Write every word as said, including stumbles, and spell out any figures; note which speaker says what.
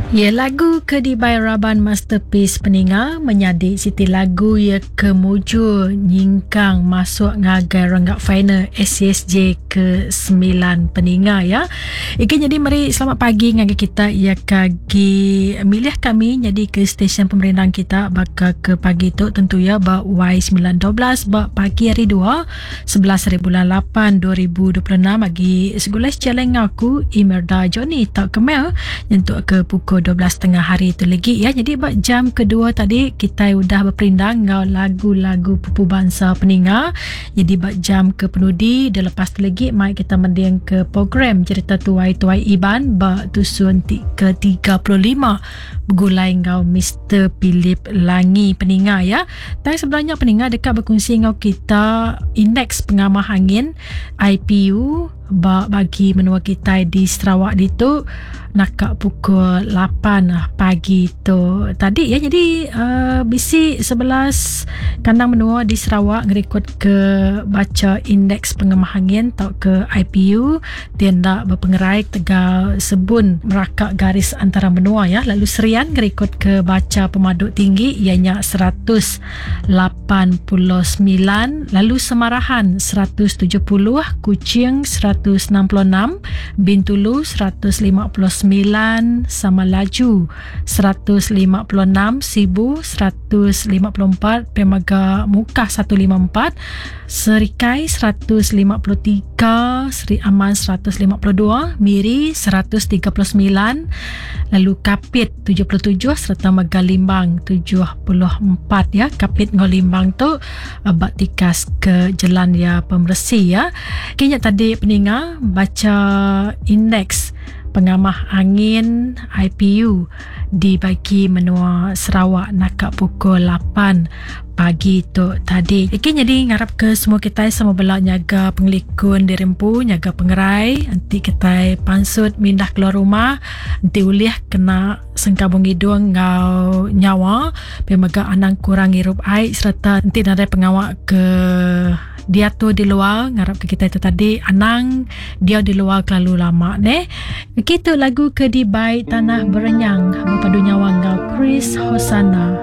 Speaker 1: Ya lagu ke dibai raban Masterpiece peninga menyadi siti lagu ya ke mujur nyingkang masuk ngagai renggat final S C S J ke sembilan peninga ya. Iki jadi meri selamat pagi ngagai kita ya kagi milih kami jadi ke stesen pemerindang kita baka ke pagi tu tentu ya ba Y sembilan dua belas ba pagi hari dua sebelas hari bulan lapan dua ribu dua puluh enam bagi segulai challenge aku Imelda Johnny tak kemel nyentuk ke pukul dua belas tengah hari tu lagi ya. Jadi ba jam kedua tadi kita udah berperindang ngau lagu-lagu pupu bangsa peninga. Jadi ba jam ke penudi dah lepas tu lagi mai kita mending ke program cerita tuai-tuai Iban ba tusun ke tiga puluh lima bergulai ngau Mister Philip Langi peninga ya. Dan sebenarnya peninga dekat berkongsi ngau kita indeks pengamah angin I P U ba bagi menua kita di Sarawak ditu nak pukul lapan pagi tu tadi ya. Jadi uh, bisi sebelas kandang menua di Sarawak ngerekod ke baca indeks pengemah angin atau ke I P U tindak berpengerai tegal sebun merakak garis antara menua ya. Lalu Serian ngerekod ke baca pemaduk tinggi ianya seratus lapan puluh sembilan, lalu Semarahan seratus tujuh puluh, Kuching seratus enam puluh enam, Bintulu seratus lima puluh sembilan, Samalaju seratus lima puluh enam, Sibu seratus lima puluh empat, Pemaga Mukah seratus lima puluh empat, Serikai seratus lima puluh tiga, Seri Aman seratus lima puluh dua, Miri seratus tiga puluh sembilan, lalu Kapit tujuh puluh tujuh serta Megalimbang tujuh puluh empat ya. Kapit ngau Limbang tu bak tikas ke jalan ya pemersi ya. Kini tadi peninga baca indeks pengamah angin I P U di bagi menua Sarawak nakak pukul lapan pagi tu tadi. Iki jadi ngarap ke semua kita sama bela nyaga pengelikun dirempu, nyaga pengerai, nanti kita pansut mindah keluar rumah, nanti ulih kena sengkabung hidung ngau nyawa, pemaga anang kurang hirup air serta nanti nadai pengawak ke dia tu di luar, ngarap ke kita itu tadi anang dia di luar terlalu lama ne. Begitu lagu ke di baik Tanah Berenyang berpadu nyawa ngau Chris Hosana.